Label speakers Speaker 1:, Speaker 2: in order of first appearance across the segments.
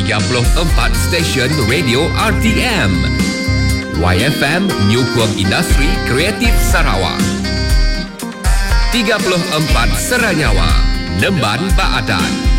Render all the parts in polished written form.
Speaker 1: 34 stesen radio RTM. YFM nyukung industri kreatif Sarawak. 34 Seranyawa, Nemban ba Adat.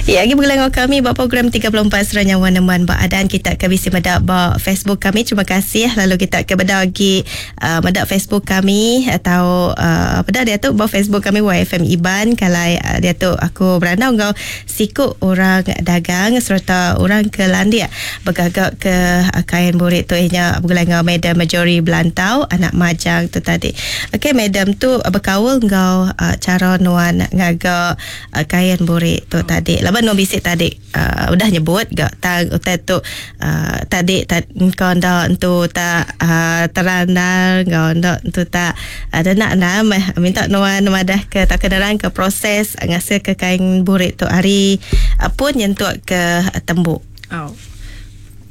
Speaker 2: Ya, agi begulai enggau kami ba program 34 Sera Nyawa Neman ba Adan kita ke bisi meda ba Facebook kami. Terima kasih lalu kita ke beda agi uh, meda Facebook kami atau uh, peda diatu ba Facebook kami YFM Iban kalai uh, diatu aku berandau enggau siku orang dagang sereta orang ke landik begaga ke uh, kain burik tu inya begulai enggau Madam Marjorie Belantau anak Majang tu tadi. Okey madam tu bekaul enggau uh, cara nuan ngaga uh, kain burik tu tadi laban nuan bisi tadi uh, udah nyebut ga tang utai tu uh, tadi ta, engkau enda entu tak uh, terandar enggau enda entu tak uh, denak enda meh minta nuan madah ke tak nerang ke proses ngasil ke kain burik tu hari uh, pun nyentuk ke uh, tembu.
Speaker 3: Oh.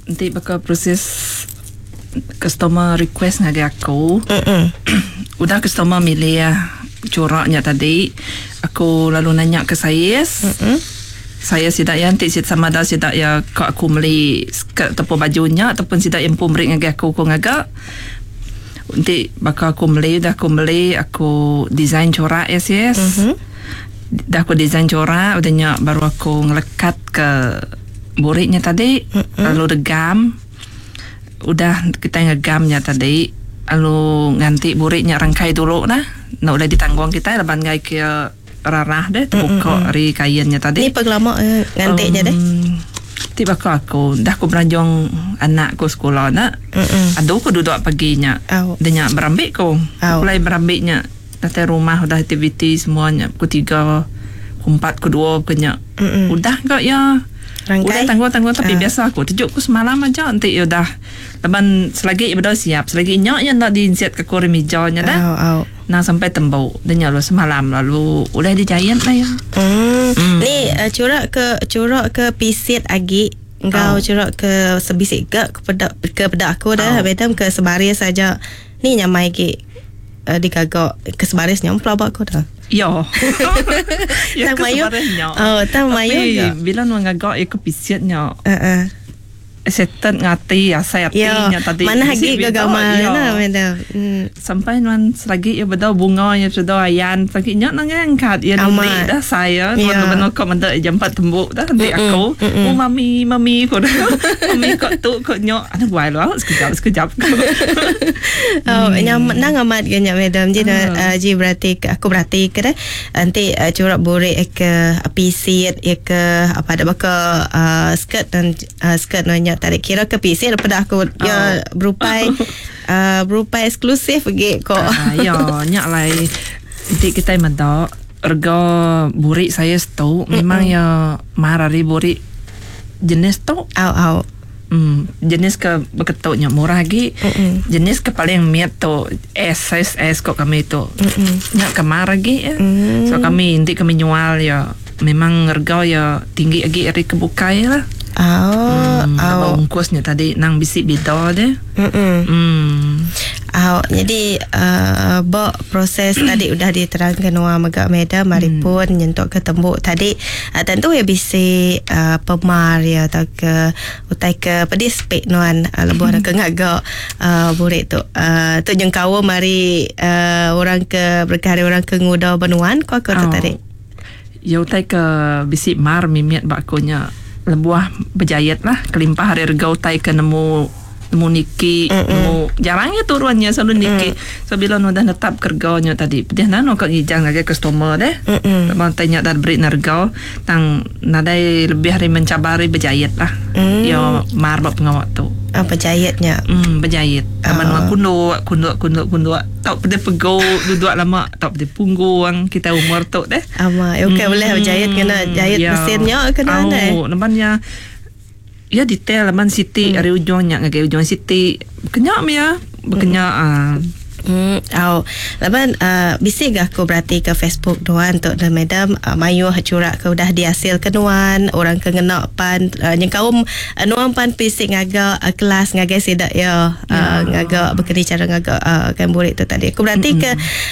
Speaker 3: Enti baka proses customer request ngagai aku. Mm-mm. Udah customer milih corak nya tadi, aku lalu nanya ke saiz. Mm-mm. Saya sida ya enti sida sama ada sida ya ka aku meli skirt ataupun baju nya ataupun sida yang empu meri ngagai aku ku ngaga. Enti baka aku meli udah aku meli aku design corak ya sis. Mm-hmm. Dah aku design corak udah nya baru aku ngelekat ke burik nya tadi mm-hmm. lalu degam. Udah kitai ngegam nya tadi lalu nganti burik nya rangkai dulu nah. Enda ulih ditanggung kitai laban enggai ke rarah deh tebuka ari kain nya tadi.
Speaker 2: Ni pengelama nganti nya deh?
Speaker 3: Ti baka aku dah aku beranjung anak ku sekula nya adu ku duduk pagi nya. Dah nya berambi ku. Pulai berambi nya datai rumah udah aktiviti semua nya pukul tiga, pukul empat, pukul dua pukul nya. Udah ga iya.
Speaker 2: Rangkai.
Speaker 3: Udah tangguh-tangguh tapi uh. biasa aku tejuk ku semalam aja enti iya udah laban selagi iya bedau siap selagi nya iya enda diinsit ke ku ari mija nya dah.
Speaker 2: Oh, oh.
Speaker 3: Nang sampai tembu dah nya lalu semalam lalu ulih dijait lah iya.
Speaker 2: Hmm. Hmm. Ni uh, curak ke curak ke pisit agi enggau oh. curak ke sebisi ga ke peda ke peda aku dah oh. madam ke sebaris aja. Ni nyamai agi uh, digaga ke sebaris nya pelaba aku dah.
Speaker 3: Yo.
Speaker 2: Ya
Speaker 3: ke sebaris nya.
Speaker 2: Oh, tang mayu
Speaker 3: ga. Bila nuan ngaga iya ke pisit nya.
Speaker 2: Uh-uh.
Speaker 3: Setted ngati asai ati
Speaker 2: yo,
Speaker 3: nya tadi.
Speaker 2: Manah agi ga gamal nya madam.
Speaker 3: Hmm. Sampai nuan selagi iya bedau bunga iya bedau ayan selagi nya nang angkat iya dudi dah sai iya nuan yeah. Benu ko meda jampat tembu dah enti aku. Mm-mm. Oh mami mami ko dah. mami ko tu ko nya. Anu guai lu sekejap sekejap.
Speaker 2: Oh, hmm. nyam nang amat ke nya madam. Ji uh. uh, ji berarti ke aku berarti ke deh. Enti uh, curak burik ke pisit ya ke apa ada baka uh, skirt dan uh, skirt nanya tarik kira ke pisit daripada aku oh. ya berupai uh, berupai eksklusif ge ko.
Speaker 3: Uh, ya, nya lai enti kitai meda rega burik saiz tu memang ya mar ari burik jenis tu.
Speaker 2: Au au.
Speaker 3: Hmm, jenis ke beketu nya murah agi. Mm-mm. Jenis ke paling mit tu S size S ko kami tu.
Speaker 2: Mm-mm.
Speaker 3: Nya ke mar agi ya.
Speaker 2: Mm.
Speaker 3: So kami enti kami nyual ya memang rega ya tinggi agi ari ke bukai lah.
Speaker 2: Oh,
Speaker 3: hmm,
Speaker 2: oh.
Speaker 3: Ungkus nya tadi nang bisi bida deh.
Speaker 2: Mm-mm.
Speaker 3: Hmm.
Speaker 2: Au, jadi uh, ba proses tadi udah diterangkan nuan mega madam mari hmm. pun nyentuk ke tembu tadi uh, tentu ya bisi uh, pemar ya atau ke utai ke pedis pek nuan uh, lebuh hmm. ke ngaga uh, burik tu. Uh, tu nyengkaum mari uh, orang ke berkah hari orang ke nguda benuan ko aku tu
Speaker 3: oh.
Speaker 2: tadi.
Speaker 3: Ya utai ke bisi mar mimit ba aku nya lebuh bejait lah kelimpah ari rega utai ke nemu nemu niki mm nemu jarang iya turun nya selalu niki mm. so bila nu udah netap ke rega nya tadi pedih nan ka ngijang ngagai customer deh
Speaker 2: mm
Speaker 3: laban utai nya dah diberi na rega tang nadai lebih ari mencabar ari bejait lah
Speaker 2: mm.
Speaker 3: iya mar ba pengawa tu.
Speaker 2: Ah, bejait nya.
Speaker 3: Hmm, bejait. Laban uh. kunduk, kunduk, kunduk, kunduk. Tau pedih pegu, duduk lama, tau pedih punggung. Kita umur tu deh.
Speaker 2: Ama, okey hmm. boleh bejait kena jahit
Speaker 3: ya.
Speaker 2: mesin nya kena
Speaker 3: oh,
Speaker 2: deh.
Speaker 3: Laban ya ya detail laban siti hmm. ari ujung nya ngagai ujung siti. Bekenya meh ya. Bekenya hmm. ah.
Speaker 2: Hmm, au. Laban uh, bisi ga aku berati ke Facebook nuan tu dan madam uh, mayuh curak ke udah dihasil ke nuan, orang ke ngena pan uh, nyengkaum uh, nuan pan bisi ngaga uh, kelas ngagai sida ya uh, ngaga bekeni cara ngaga uh, kain burik tu tadi. Aku berati ke
Speaker 3: Mm-mm.